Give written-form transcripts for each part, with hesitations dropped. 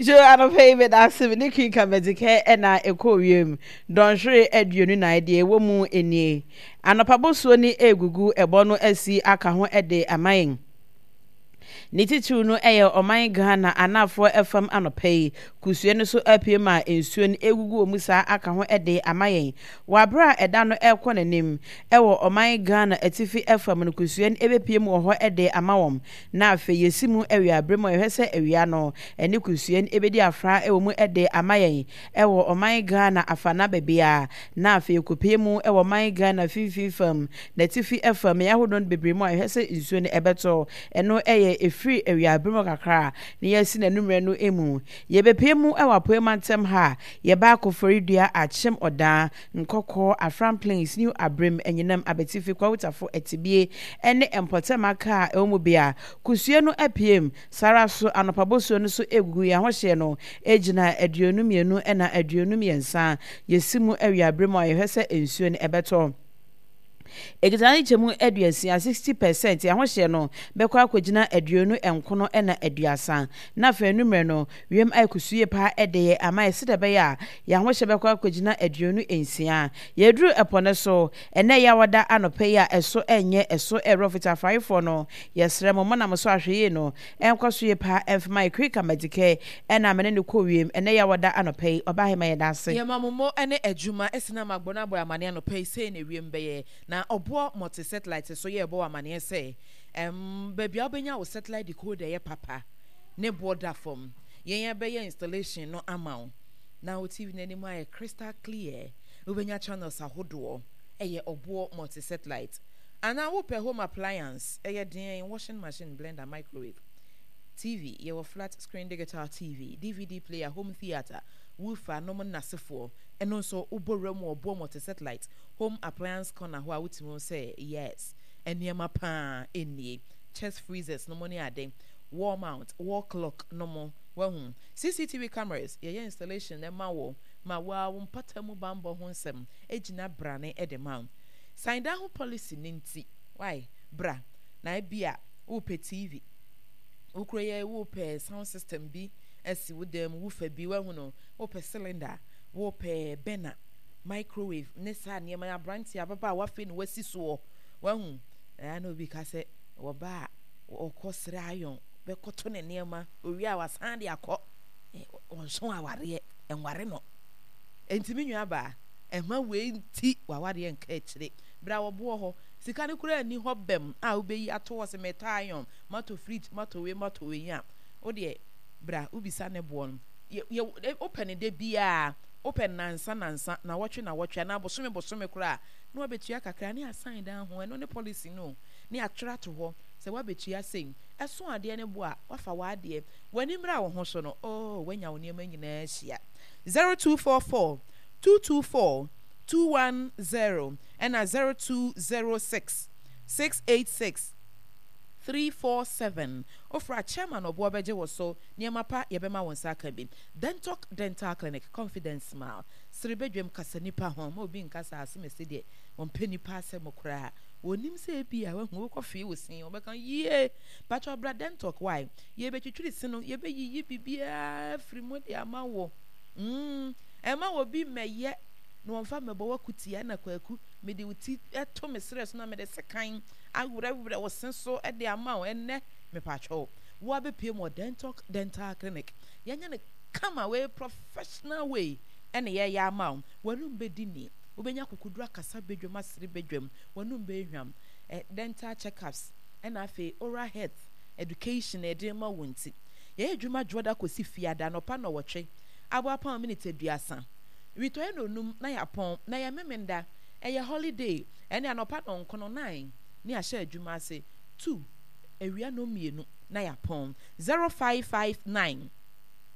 So anɔpa yi meda ase me ne Queen Kamadzikɛ na ɛkɔɔ wiem dɔnhwere 24 deɛ ɛwɔ mu nie. Anɔpa bosuo ne ɛregugu ɛbɔ no asi aka ho de ama yɛn. Ne titiriw no yɛ ɔman Ghana anafoɔ fam anɔpa yi kusue no so apue ma nsuo no ɛregugu wɔ mu saa aka ho de ama yɛn. Wɔ aberɛ a ɛda no ɛrekɔ n'anim wɔ ɔman Ghana atifi fam no kusue no ɛbɛpue mu wɔ hɔ de ama wɔn. Na afei yɛsi mu awia berɛ mu a yɛhwɛ sɛ awia no ne kusue no ɛbɛdi afra wɔ mu de ama yɛn wɔ ɔman Ghana afana baabiara. Na afei yɛkɔpue mu wɔ ɔman Ghana mfimfini fam, n'atifi fam, mmeaɛ ahodoɔ no bebree mu a yɛhwɛ sɛ nsuo no ɛbɛtɔ. Ɛno yɛ ɛfiri awia berɛ mu kakra na yɛasi n'anummerɛ no mu. Yɛbɛpue mu wɔ Apueɛ mantam ha a, yɛba Koforidua, Akyem Ɔdaa, Nkɔkɔɔ, Afram Plains, New Abrem, Anyinam, Abetifi, Kwawutafo, Atibie ne mpɔtam aka a ɛwɔ mu bea. Kusue no apiem, saa ara nso anɔpa bosuo no nso regugu. Yɛn ahohyeɛ no gyina 22 na 23. Yɛsi mu awia berɛ mu a yɛhwɛ sɛ nsuo no ɛbɛtɔ. Ɛkita ne kyɛmu 60, 60 percent, yɛn ahohyeɛ no bɛkɔ akɔgyina 29 na 30. Na afei anwummerɛ no, Wiem ayɛ kusuu yie paa de yɛ ama yɛ sɛdeɛ ɛbɛyɛ a yɛn ahohyɛ bɛkɔ akɔgyina 26. Yɛreduru ɛpɔ no so ɛnnɛ Yawada anɔpa yi a ɛso nyɛ ɛso ɛrɔ fitafaefoɔ no, yɛsrɛ mo monam so ahwɛyie no nkɔ so yie paa mfa ma yɛ Kirika Madikɛ ɛna me ne no kɔɔ wiem ɛnnɛ Yawada anɔpa yi. Ɔbaahemaa yɛda ase. Yɛma mo mo ne adwuma ɛsene ama agbɔ no abɔ amaneɛ anɔpa yi sei na ewiem bɛyɛ na ɔboɔ mɔte satellite so yɛɛbɔ wo amaneɛ sɛ ɛmm baabi a wobɛnya wo satellite decoder yɛ papa. Ne boɔ da fam. Yɛn yɛbɛyɛ installation no ama wo na wo TV no anim ayɛ crystal clear. Wobɛnya channels ahodoɔ. Ɛyɛ ɔboɔ multi satellite. Anaa wopɛ home appliance, ɛyɛ deɛn, washing machine, blender, microwave, TV, yɛwɔ flat screen digital TV, DVD player, home theatre, woofer nom nnasefoɔ. Ɛno nso wobɔ wura mu wɔ ɔboɔ multi satellite home appliance corner hɔ a wotumi hu sɛ yes, nneɛma paa nie. Chest freezers nom ne ade. Wall mount, wall clock no mo, wahu. CCTV cameras, yɛyɛ installation no ma wo ma wo ara wo mpata mu banbɔ ho nsɛm gyina brane de ma wo. San dan ho policy no nti, wai, bra na ebia worepɛ TV, wo kuro yɛ worepɛ sound system bi asi wo dan mu, woofer bi, wahu no, worepɛ cylinder, worepɛ burner, microwave ne saa nneɛma yi, aberanteɛ, ababaawa afei na wasi soɔ, wahu. Ɛyɛ na obi ka sɛ wɔba a ɔkɔ srɛ ayɔn bɛkɔto ne nneɛma, owie a wasan de akɔ. Ɔnso awareɛ, ɛnware no. Enti me nua baa, ɛmma wei nti w'awareɛ nka akyire. Berɛ a wɔboɔ hɔ, sika no koraa nni hɔ bɛm a wobɛyi ato hɔ sɛ metɔ ayɔn, matɔ fridge, matɔ wei, matɔ wei a, wo deɛ bra wobisa ne boɔ no. Yɛ, yɛ, wopɛ no da biara, wopɛ no nansa nansa, nawɔtwe nawɔtwe, anaa bosome bosome koraa a, na wabɛtua kakra ne asan dan ho. Ɛno ne policy no o, ne atwerɛ ato hɔ. Sɛ woabetua sei, ɛso adeɛ no bo a, woafa w'adeɛ. W'ani mmra wo ho so no, oh, woanya wo nneɛma nyinaa ahyia. 0244 224 210 ɛna 0206 686 347. Wofrɛ a, Chairman Ɔboɔ bɛgye wo so. Nneɛma pa, yɛbɛma wo nsa aka bi. Dentalk Dental Clinic, Confidence Smile. Sere badwam, kasa nnipa ho. Mma obi nka sɛ Asomasi deɛ, ɔmpɛ nnipa asɛm koraa. Wɔnim sɛ ebia wahu wokɔ fee wo se wɔbɛka yie pakyɛw bra dentalk why yɛbɛtwitwiri se no yɛbɛyiyi biribiara afiri mu de ama wo mm ɛma obi mmɛyɛ na wɔmfa mmɛbɔ w'akutia na kwaku mede wo ti to me serɛ so na mede sekan awerɛwerɛ wo se so de ama wo ɛnnɛ mepakyɛw wo abɛpue mu wɔ dentalk dental clinic yɛnyɛ no kama wei professional way ɛne yɛyɛ ama wo w'anum bɛdi ni wobɛnya akokoduru akasa badwam asere badwam w'anum bɛyɛ hwam, eh, dental check-ups, ɛna afei oral health education a yɛde rema wo nti. Yɛyɛ adwuma dwoɔda kɔsi fiada anɔpa nnɔwɔtwe, abɔ apɔn miniti 30, witɔeɛ nnɔnum na yɛapɔn, na ɛyɛ Memenda, ɛyɛ holiday, ɛne anɔpa nnɔnkono, nine, ne yɛahyɛ adwuma ase, two, awia nnɔnmienu na yɛapɔn, 0559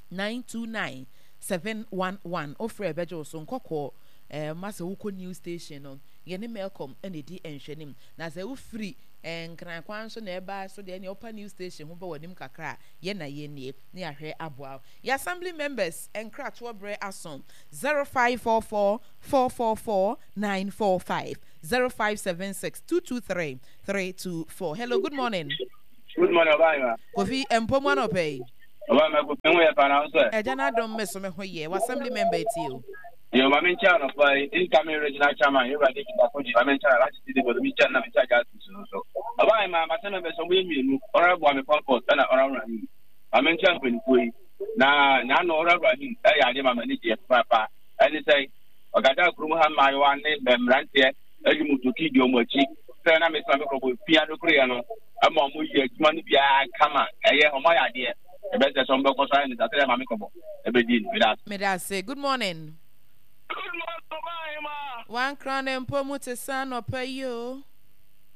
929 711, wofrɛ a yɛbɛgye wo so, nkɔkɔɔ, eh, ma sɛ wokɔ new station no, Yɛne Melcom na ɛdi nhwɛanim. Na sɛ wofiri Nkran kwan so na ɛba so deɛ, ɛneɛ wopa new station ho ba w'anim kakra a, yɛn na yɛnnie na yɛahwɛ aboa wo. Yɛn Assembly members nkratoɔ berɛ aso, 0544 444 945, 0576 223 324. Hello, good morning. Good morning, Ɔbaa Ahemaa. Kofi, mpɔ mu anɔpa yi. Ɔba mɛko me ho yɛ paa na wo sɛ. Agya no adom me so me ho yɛ. W'assembly member etie o. Yo, ma menkyɛ anɔpa yi, incoming regional chairman, Yɛwura David Akodzi, ma menkyɛ na Alhaji Sidi Bodo, menkyɛ na menkyɛ Justice no so. Ɔba yi ma m'assembly members ɔmo yɛ mmienu, Honorable Ame Comfort ɛna Honorable Rahim. Ma menkyɛ mpanimfoɔ yi. Na n'ano Honorable Rahim ɛyɛ adeɛ ma m'ani gyeɛ papaapa. Ɛne sɛ, ɔgada kurom ha mmaayewa ne mmeranteɛ ayi mu toki di ɔmo akyi sɛ na mesoma me kɔbɔ pia no koreɛ no ɛma ɔmo yɛ adwuma no biara kama ɛyɛ ɔmo ayɛ adeɛ ɛbɛsɛ sɛ ɔmo bɛkɔ so ayɛ ne saa sɛdeɛ maame kɔbɔ ɛbɛdi no meda ase. Meda ase. Good morning. Good morning Ɔbaahemaa. Wankra ne mpo mu te sɛ anɔpa yi o.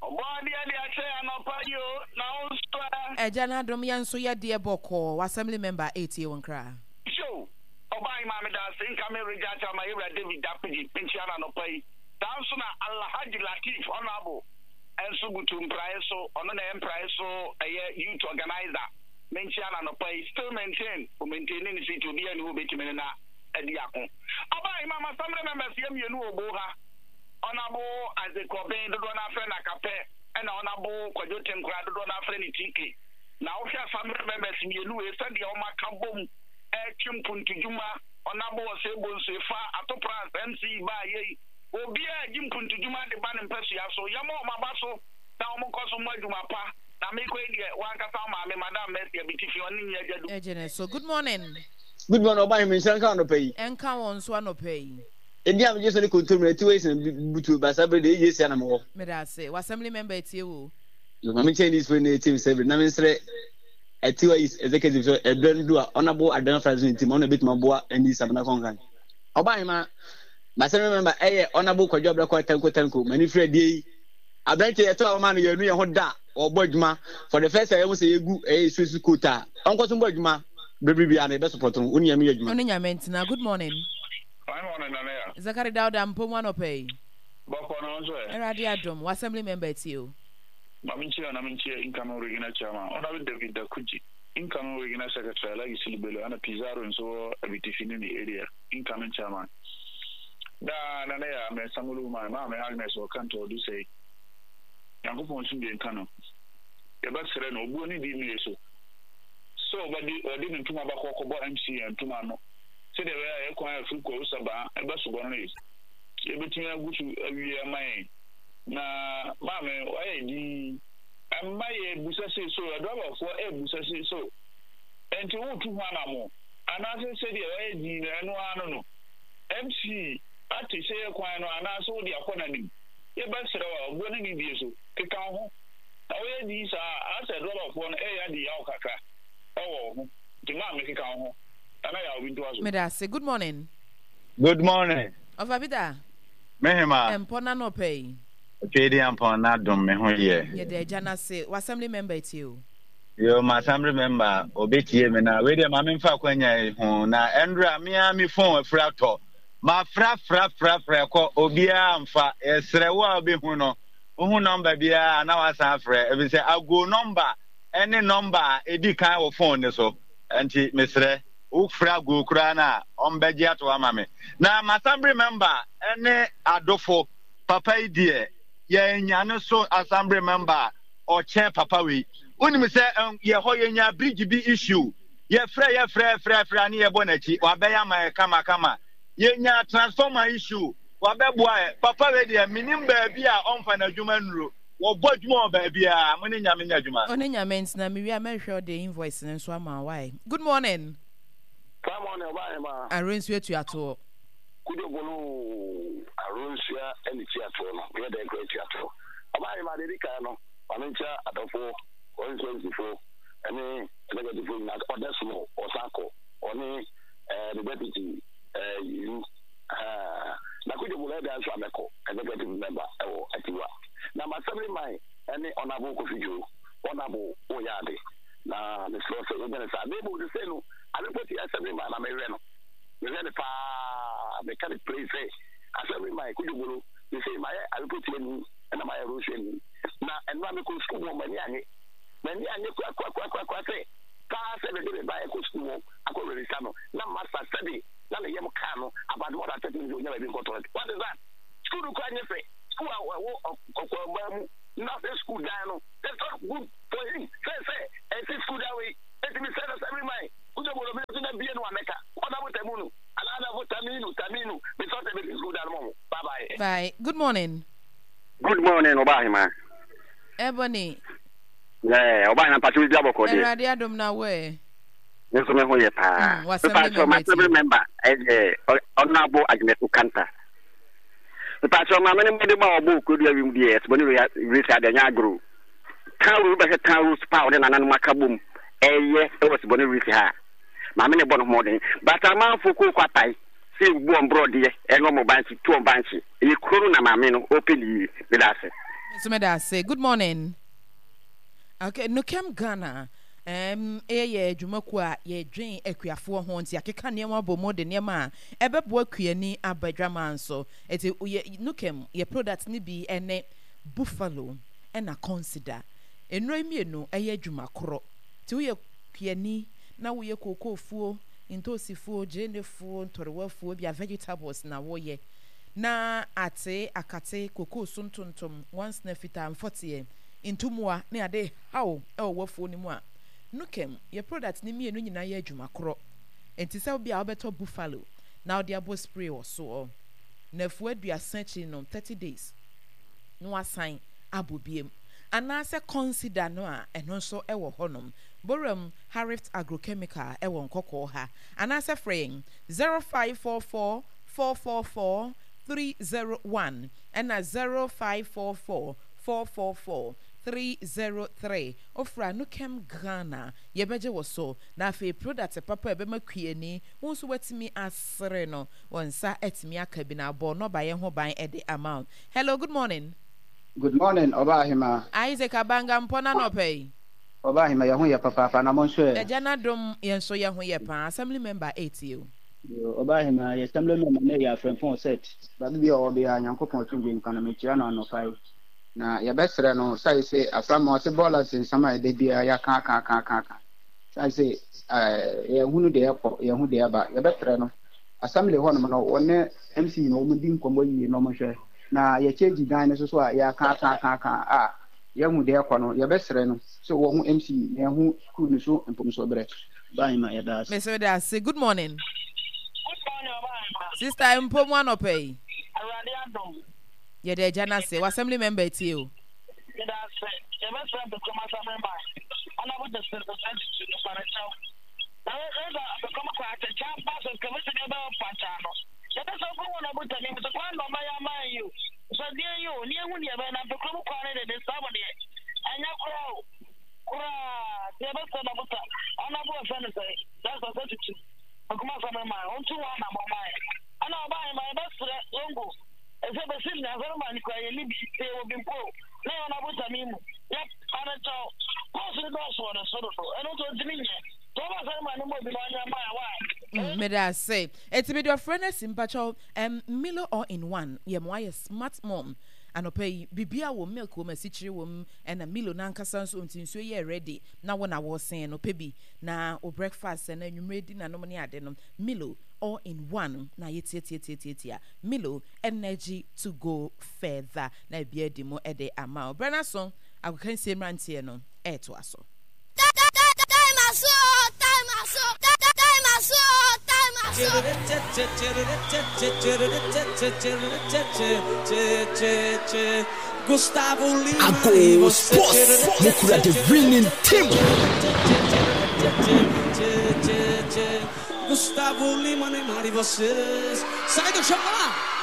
Ɔbɔadeɛ de akyɛ yɛn anɔpa yi o, na wo nso ɛ? Agya no adom yɛn nso yɛ deɛ bɔkɔɔ. W'assembly member ɛretie wo nkra. Show! Ɔbaahemaa meda ase nka me regya akyɛ ama yɛwura David Dappegye menkyia no anɔpa yi. Saa nso na Alhaji Lateef Honourable nso butu mpraeɛ so, ɔno na ɛyɛ mpraeɛ so ɛyɛ youth organiser, menkyia no anɔpa yi, still maintain, o maintaini ne seat, obiara nni hɔ obetumi ne no adi ako. Ɔbaa Imam Assembly members yɛ mmienu wɔ Obo ha, Honourable Isaac Obeng, dodoɔ no ara frɛ no Akapɛ, ɛna Honourable Kwadwo Tenkorah, dodoɔ no ara frɛ no TK. Na wohwɛ Assembly members mmienu wei sɛdeɛ wɔaka bom ɛretwe mpuntudwuma, Ɔnabo Osei Bonsu Efa, Ato Prans, MC baa yei. Obiara regye mpuntudwuma de ba ne mpasua so. Yɛmmɔ wɔn aba so na wɔnkɔ so mmɔ adwuma pa. Na merekɔ yi deɛ, w'ankasa wo maame, Madam Mercy Abitifi, ɔne nyi agya du. Gyene so. Good morning. Good morning ɔba hene nhyira nka wo anɔpa yi. Ɛnka wɔn nso anɔpa yi. Edin a megye so ne kontomire atiwa yi sene butuo ba saa bere deɛ ɛyɛ sia na mewɔ. Meda ase. W'assembly member atie wo. Ma menkyɛn this way na ɛtie me sɛ bere na mensrɛ Atiwa East Executive sɛ ɛberɛ no du a Honourable Aduana Francis ne team ɔno na ɛbɛtumi aboa NDC Abena Kɔnkan. Ɔbahema, m'assembly member ɛyɛ Honourable Kwadwo Ablakwa Tanko Tanko, m'ani firi adie yi. Aberanteɛ yɛtɔ a wɔma no yɛnu yɛn ho da ɔbɔ adwuma for the first time yɛhu sɛ yɛgu ɛyɛ suesu coat a ɔnkɔ so mbɔ adwuma bere biara no yɛbɛ support no wo ne Nyame yɛ adwuma. Wo ne Nyame ntena. Good morning. Fine morning Nana Yaa. Zakari Dauda mpom anɔpa yi. Bɔkɔ na wo nso ɛ? Awurade adom. W'assembly member atie o. Ma menkyia na menkyia incoming Regional Chairman, Honourable David Dakudzi, incoming Regional Secretary, Alhaji Sulu Bello, ɛna Pizarro nso wɔ Abitifi ne ne area, incoming Chairman. Daa na na yɛ Ahmed Samolu Umar, Maame Agnes wɔ Kanto Ɔdusɛi. Nyankopɔn nsomdwe nka no. Yɛbɛsrɛ no, obuo ne di mmie so, sɛ ɔbɛde ɔde ne ntoma bakɔ akɔbɔ MCN ntoma ano, sɛdeɛ ɛbɛyɛ a yɛ kwan a ɛfiri Kwawu Sabaa ɛba Subɔnre, yɛbɛtumi agu so awie ama yɛn. Na maame wayɛ dinn. Mma yɛrebisa sei so, adriverfoɔ rebisa sei so, ɛnti woretu ho anamo? Anaasɛ sɛdeɛ wayɛ dinn no ɛno ara no no? MC ate sɛ yɛ kwan no anaasɛ wode akɔ n'anim? Yɛbɛsrɛ wo a, obuo ne nidie so, keka wo ho. Na woyɛ dinn saa a, asɛ adriverfoɔ no reyɛ adi yaw kakra wɔ wo ho. Nti maame keka wo ho. Nana Yaw bi ntoa so. Meda ase. Good morning. Good morning. Ɔfa Peter. Me hema. Mpɔ n'anɔpa yi. Tweediampɔn n'adom me ho yɛ. Yɛda Agya no ase. W'assembly member tie o. Yoo m'assembly member obetie me na wei deɛ ma memfa akwanya yi ho na ɛndra me ara me phone afiri atɔ mafra fra fra fra ɛkɔ obiara mfa yɛsrɛ wo a wobɛhu no wohu number biara na wasan afrɛ efisɛ ago number ɛne number a ɛdi kan wɔ phone ne so nti mesrɛ Wo fra go koraa no a ɔmbɛgye ato ama me. Na m'assembly member ne adofo papa yi deɛ yɛanya no so assembly member a ɔkyɛn papa wei. Wonim sɛ yɛ hɔ yɛnya bridge bi issue yɛfrɛ yɛfrɛ frɛ frɛ a ne yɛbɔ n'akyi wabɛyɛ ama yɛ kama kama. Yɛnya transformer issue wabɛboa yɛ. Papa wei deɛ menim baabi a ɔmfa n'adwuma nnuro. Wɔbɔ adwuma wɔ baabiara. Mo ne Nyame nyɛ adwuma. Wo ne Nyame ntena. Me wie a mɛhwehwɛ ɔde invoice no nso ama wo wai. Good morning. Fine morning ɔbaa hemaa. Aronsua tua toɔ. Kudwo boloo Aronsua ɛne tua toɔ no meyɛ dɛn koraa tua toɔ. Ɔbaa hemaa deɛ ɛdi kan no ma me nkyia adɔfoɔ constituency foɔ ɛne executive foɔ nyinaa ɔdɛ somo ɔsan kɔ ɔne ɛɛ ne deputy ɛɛ yu. Ahaa na Kojo Bola ɛda nso a mɛkɔ executive member ɛwɔ Atiwa na m'assembly man ɛne Honourable Kofi Dwoo Honourable woyɛ ade na mesrɛ wo sɛ yɛnyɛ no saa na mmom sesei no Alepoti assembly man na mehwɛ no mehwɛ no paa meka no plain sɛ assembly man Kojo Bolo sesei mayɛ Alepoti ani ɛna mayɛ Rosu ani na ɛno a mekɔ sukuu mu m'ani anye m'ani anye korakorakorakora sɛ paa sɛ mede me ba ɛkɔ sukuu mu akɔ register no na masa sɛde na ne yam kaa no about more than 30 minutes onya baabi nkɔ toilet. What is that? School no kura nyɛ fɛ. School a ɛwɔ ɔkwanbaa mu na sɛ school dan no, that's not good for him. Sɛ sɛ ɛsi school dan wei, ɛti mi sɛ na assembly man. Bye. Good morning. Good morning, Ɔbaa Ahema. Ebony. Yeah, Ɔbaa Ahema mpakyɛ obi abɔkɔ deɛ. Awurade adom na wo ɛ. Me nso me ho yɛ paa. Mm, w'assembly member Mepakyɛ member ɛyɛ Honorable Agnes Okanta. Mepakyɛ maame no mmɔde ma ɔbɔ okurodua wim deɛ ɛsebɔ ne race adeɛ nyɛ agorɔ. Town road bɛhwɛ town road pa ɔne nananom aka bom ɛyɛ ɛwɔ sebɔ ne race ha. Maame ne bɔ no mmɔden. But amanfo kooko apae sɛ ebubu wɔn borɔdeɛ ɛne wɔn bankye tu wɔn bankye. Ɛyɛ kuro no na maame no ɔpɛ ne yie. Meda ase. Me nso meda ase. Good morning. Okay, Nukem Ghana um, yɛ adwumakuo a yɛdwen akuafoɔ ho nti akeka nneɛma bɔ mu de nneɛma a ɛbɛboa kuani aba adwaman so. Nti yɛ Nukem yɛ product no bi ne Buffalo ɛna Consider. Nnuro yi mmienu ɛyɛ adwuma korɔ. Nti woyɛ kuani na woyɛ kookoofuo, ntoosi-fuo, gyeene-fuo, ntɔrewa-fuo, ebia vegetables na woyɛ na ate, akate, kokoo so ntontom, nwansena fitaa, mfɔteɛ, ntummoa ne ade rehaw wɔ w'afuo no mu a, Nukem, yɛ product no mmienu nyinaa yɛ adwuma korɔ. Enti sɛ wobia wobɛtɔ Buffalo na wode abɔ spray wɔ soɔ, nafua aduasa akyiri no, 30 days, na wasan abɔ biom. Anaasɛ Consider no a ɛno nso wɔ hɔnom. Boram Harift Agrochemical wɔ Nkɔkɔɔ ha. Anaasɛ frɛ yɛn 0544 444 301 ɛna 0544 444 303. Wofrɛ a Nukem Ghana yɛbɛgye wo so. Na afei product papa a ɛbɛma kuani wo nso woatumi asere no wo nsa atumi aka bi na abɔ nnɔbaeɛ ho ban de ama wo. Hello, good morning. Good morning Ɔbaa Ahemaa. Isaac Abanga mpɔ no anɔpa yi. Ɔbaa Ahemaa yɛn ho yɛ papaapa na mo nso ɛ? Agya no adom yɛn nso yɛn ho yɛ paa. Assembly member etie o. Yoo Ɔbaa Ahemaa yɛ assembly member no yɛ Afrɛmfon set. Baabi biaa ɔwɔ biaa Nyankopɔn asomdwie nka no mekyia no anɔpa yi. Na yɛbɛsrɛ no sae se afra ma ɔse bɔɔla nsensam a ɛda biaa yɛaka aka aka aka aka sae se yɛnhunu deɛ ɛkɔ yɛnhu deɛ ɛba yɛbɛsrɛ no assembly hɔ nom no wɔne MC no wɔn di nkɔmmɔ yie na wɔn hwɛ na yɛkyɛgyi dan no so so a yɛaka aka aka aka a yɛhu deɛ ɛkɔ no yɛbɛsrɛ no sɛ wɔhu MC na yɛhu school no so mfomsoɔ berɛ Bye ma yɛda ase. Mese meda ase. Good morning. Good morning Ɔbaa Sister mpo mu anɔpa yi. Awurade adom. Yɛda agya no ase. W'assembly member atie o. Meda ase. Yɛbɛsrɛ Bekwam Assembly man, Honourable Justice Osei-Tutu, mepa no kyɛw. Na yɛdze Bekwam kɔ atɛkyɛ aba sɛ excavation bi bɛyɛ ɔpankyaa no. Yɛpɛ sɛ ɔkɔ Honourable Tamim so kwan na ɔbɛyɛ ama yɛn yi o. Sɛ deɛn yi o, ne yɛhu deɛ ɛbɛyɛ na Bekwam kwan no deɛ mesrɛ mo deɛ, ɛnyɛ koraa o. Koraa. Nti yɛbɛsrɛ Dabuta, Honourable wɔfrɛ no sɛn, Justice Osei-Tutu, Bekwam Assembly man, ɔntu ho anammɔn mma yɛn. Ɛna ɔbaa yɛbɛsrɛ Zongo. Ɛsɛ bɛsi nnɛ asɔre ma no kura yɛnni bi, sɛ yɛwɔ bi mpo na yɛwɔ n'abotam yi mu. Yɛ pa no kyɛw. Course no dɔɔso wɔ ne so dodo, ɛno nti ɔntumi nyɛ. Nti wɔma asɔre ma no mmɔ bi na ɔnyɛ mma yɛn, why? Meda ase. Eti mede ɔfrɛ no asi mpakyɛw um Milo all in one yɛ mo ayɛ smart mom anɔpa yi biribiara wom milk wom asikyire wom ɛna Milo no ankasa nso nti nsuo yɛ ready na wo na wosen no pɛ bi na wo breakfast ɛna anwummerɛ dinner nom ne ade no Milo all in one na ayɛ tiatiatiatiatia Milo energy to go further na biribiara adi mu de ama wo. Berɛ no aso, agokansie mmeranteɛ no retoa so. Time aso o, time aso, time aso o, time aso. Ago Sports mokura the winning team. Gusttavo Lima, Neymar e vocês. Sai do chão, lá!